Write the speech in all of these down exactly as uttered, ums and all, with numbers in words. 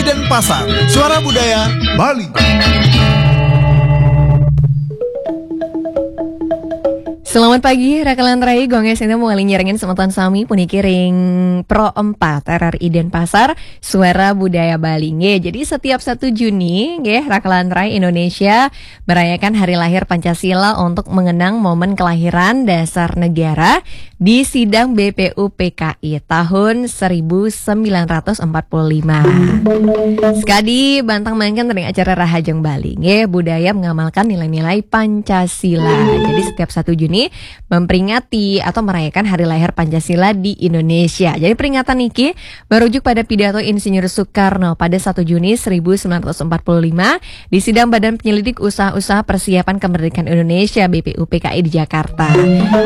Denpasar, Suara Budaya Bali. Selamat pagi, Raka Lantrai. Gue Angga Sinta mau nyerengin semeton sami puniki ring Pro empat R R I Denpasar, Suara Budaya Bali. Nggih, jadi setiap satu Juni, nggih, Raka Lantrai Indonesia merayakan Hari Lahir Pancasila untuk mengenang momen kelahiran dasar negara di sidang B P U P K I tahun seribu sembilan ratus empat puluh lima. Sekadi bantang mangkin ring acara Rahajeng Bali, nggih, budaya mengamalkan nilai-nilai Pancasila. Jadi setiap satu Juni memperingati atau merayakan Hari Lahir Pancasila di Indonesia. Jadi peringatan niki merujuk pada pidato Insinyur Soekarno pada satu Juni seribu sembilan ratus empat puluh lima di sidang Badan Penyelidik Usaha-Usaha Persiapan Kemerdekaan Indonesia, B P U P K I, di Jakarta.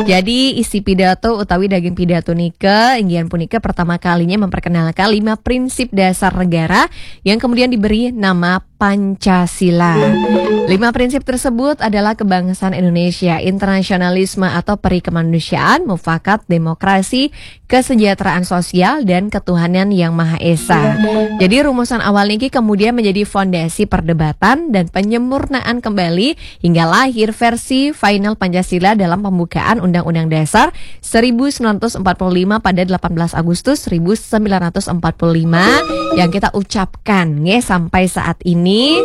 Jadi isi pidato utawi daging pidato nika inggih punika pertama kalinya memperkenalkan lima prinsip dasar negara yang kemudian diberi nama Pancasila. Lima prinsip tersebut adalah kebangsaan Indonesia, internasionalisme atau peri kemanusiaan, mufakat, demokrasi, kesejahteraan sosial, dan ketuhanan yang Maha Esa. Jadi rumusan awal niki kemudian menjadi fondasi perdebatan dan penyempurnaan kembali hingga lahir versi final Pancasila dalam pembukaan Undang-Undang Dasar seribu sembilan ratus empat puluh lima pada delapan belas Agustus seribu sembilan ratus empat puluh lima yang kita ucapkan, nggih, sampai saat ini.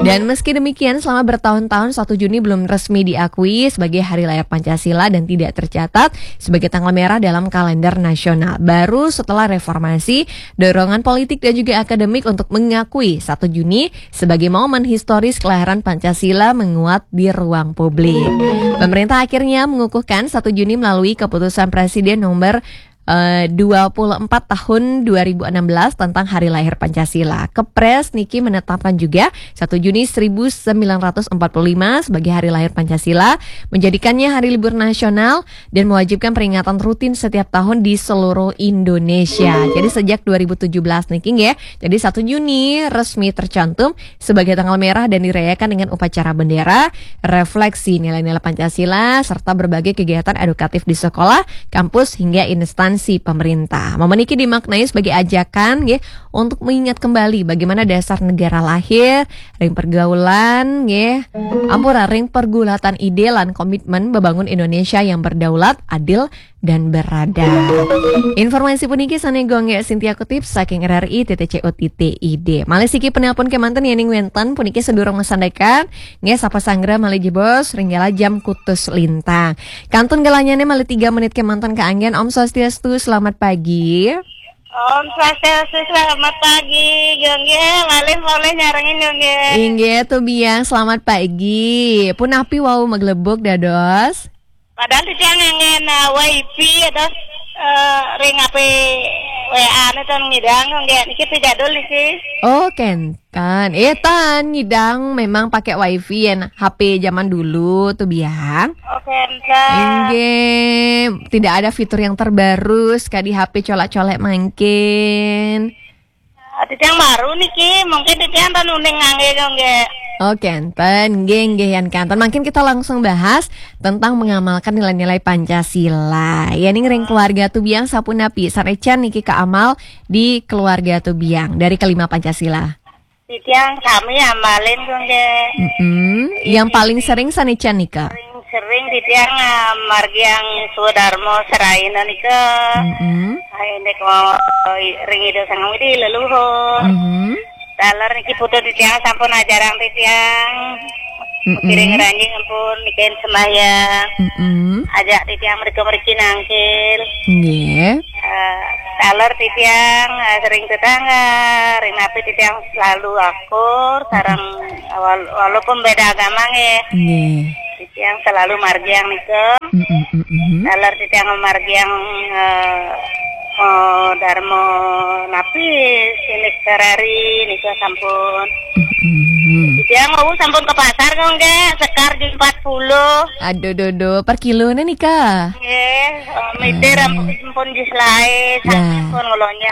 Dan meski demikian, selama bertahun-tahun satu Juni belum resmi diakui sebagai Hari Lahir Pancasila dan tidak tercatat sebagai tanggal merah dalam kalender nasional. Baru setelah reformasi, dorongan politik dan juga akademik untuk mengakui satu Juni sebagai momen historis kelahiran Pancasila menguat di ruang publik. Pemerintah akhirnya mengukuhkan satu Juni melalui keputusan Presiden nomor eh, dua puluh empat tahun dua ribu enam belas tentang Hari Lahir Pancasila. Kepres niki menetapkan juga satu Juni seribu sembilan ratus empat puluh lima sebagai Hari Lahir Pancasila, menjadikannya hari libur nasional dan mewajibkan peringatan rutin setiap tahun di seluruh Indonesia. Jadi sejak dua ribu tujuh belas niki, nggih, jadi satu Juni resmi tercantum sebagai tanggal merah dan dirayakan dengan upacara bendera, refleksi nilai-nilai Pancasila, serta berbagai kegiatan edukatif di sekolah, kampus, hingga instansi pemerintah. Momen niki dimaknai sebagai ajakan, nggih, untuk mengingat kembali bagaimana dasar negara lahir, ring pergaulan, nggih, ampura, ring pergulatan ide lan komitmen membangun Indonesia yang berdaulat, adil, dan beradab. Informasi puniki sane gue, nggih, Sintia kutip saking R R I titik C O titik I D. Malih siki penelpon kemanten yening wenten puniki sedurung masandekan, nggih, sapa sanggra malih jebos ring galah jam kutus lintang. Kantun galahnyane malih tiga menit kemanten kaanggen. Om Swastiastu, selamat pagi. Om Swastiastu, selamat pagi, Gongge. Malih, malih nyarengin, Gongge. Inggih, Tu Biang, selamat pagi. Punapi wau maglebug dados? Padahal titiang nganggen, eh, wifi atau, eh, ring H P W A ne tan ngidang, Gongge. Niki pi jadul niki. Oh, kenten. Eh, tan ngidang memang pakai wifi yen H P zaman dulu, Tu Biang. Oh, kenten. Inggih, tidak ada fitur yang terbaru, sekadi H P colek-colek mangkin. Ah, titiang baru niki, mungkin titiang tan uning ngangge, Gongge. Oh, kenten, nggih, nggih, yan kenten. Mungkin kita langsung bahas tentang mengamalkan nilai-nilai Pancasila. Yening ring keluarga Tu Biang sapunapi, sarecan niki kaamal di keluarga Tu Biang dari kelima Pancasila? Titiang sami amalin, Gongge. Mm-mm. Yang paling sering sanecan nika? Sering titiang, ah, margiang swadarma seraina nika. Mm-mm. Ah, indik mau ring Ida Sang Hyang Widhi leluhur. Mm-mm. Taler niki putu titiang sampun ajarang titiang. Mm-mm. Piring ranjing ampun nikain sembahyang. Mm-mm. Ajak titiang mrika mriki nangkil. Nggih. Eh, taler titiang, eh, sering tetangga, ring napi titiang selalu akur, sareng wal-, walaupun beda agama nggih. Nggih. Titiang selalu margiang nika. Mm-mm, mm-mm. Taler titiang margiang, eh, eh, darma napi sinik sarari nika sampun. Mm-mm. Titiang wau sampun ke pasar, Gongge, se-, Sekitar di empat puluh. Aduh, duh, duh, per kilo nih, Nika. Nggih, eh, miter ampun pun jis lae, Ya. sampun ngolonya.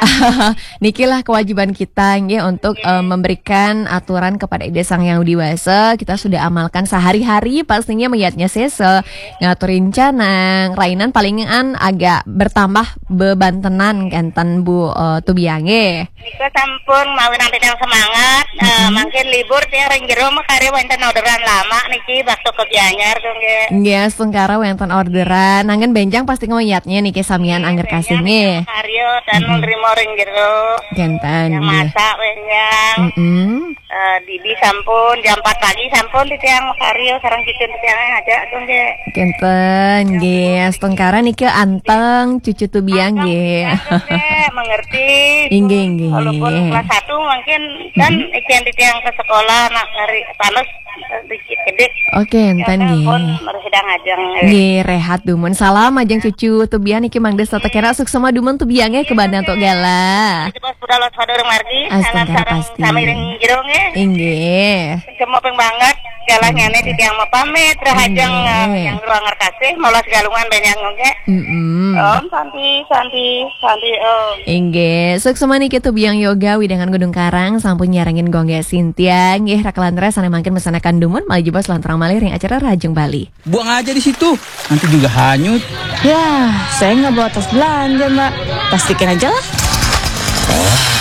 Nikilah kewajiban kita nggih untuk eh, memberikan aturan kepada Ida Sang Yang Widi Wasa. Kita sudah amalkan sehari-hari, pastinya meyatnya sesa, ngatur rencana, rainan palingan agak bertambah bebantenan kenten Bu eh, Tubiang nggih. Nika sampun mawi nanti yang semangat, eh, mungkin libur tiang ring jero makarya wonten orderan lama niki waktu ke Gianyar tuh nggih. Nggih, astungkara wenten orderan. Nanggen benjang pasti ngeyatnya niki samian angger kasih nggih. Karya dan nerima ring jero. Kenten Yang nggih. Masak wenjang. Mm-mm. Eh, Didi sampun jam empat pagi sampun di tiang makarya sareng cucu di tiang aja tuh nggih. Kenten nggih, astungkara niki anteng cucu Tubiang nggih. Nggih, mengerti. Inggih, inggih. Walaupun kelas satu mungkin kan ikian di tiang ke sekolah nak hari panas sedikit gede. Oke, enten Pun nggih. Harus sedang ajeng. Nggih, rehat dumun. Salam ajeng cucu Tubiang niki Mang Desa tekena suksma dumun Tubiang nggih kebadan tok gala. Itu pas udah lot sadurung margi. Salam Astungkara sareng pasti. Sami ring jero nggih. Inggih. Semua peng banget. Galahnya nih di tiang mapamit rahajeng Nggih. yang ruang kasih malas galungan banyak nggih. Mm-mm. Om Santi, Santi, Santi Om. Inggih, suksma niki Tubiang Yoga wewidangan Gunung Karang sampun nyarengin Gongge Sintia. Nggih, rakalan res ane mangkin mesanakan dumun malih jebos lanturang malih ring acara Rahajeng Bali. Buang aja di situ, nanti juga hanyut. Ya, saya nggak bawa tas belanja, Mbak. Plastikin aja lah.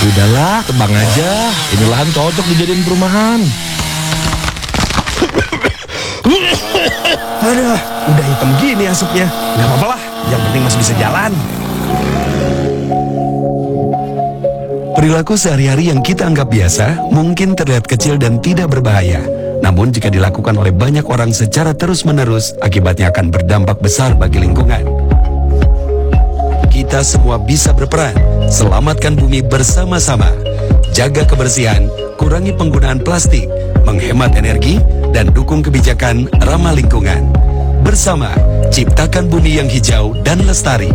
Udahlah, tebang aja. Ini lahan cocok dijadiin perumahan. Aduh, udah hitam gini asapnya. Nggak apa-apa lah, yang penting masih bisa jalan. Perilaku sehari-hari yang kita anggap biasa mungkin terlihat kecil dan tidak berbahaya. Namun jika dilakukan oleh banyak orang secara terus-menerus, akibatnya akan berdampak besar bagi lingkungan. Kita semua bisa berperan. Selamatkan bumi bersama-sama. Jaga kebersihan, kurangi penggunaan plastik, menghemat energi, dan dukung kebijakan ramah lingkungan. Bersama, ciptakan bumi yang hijau dan lestari.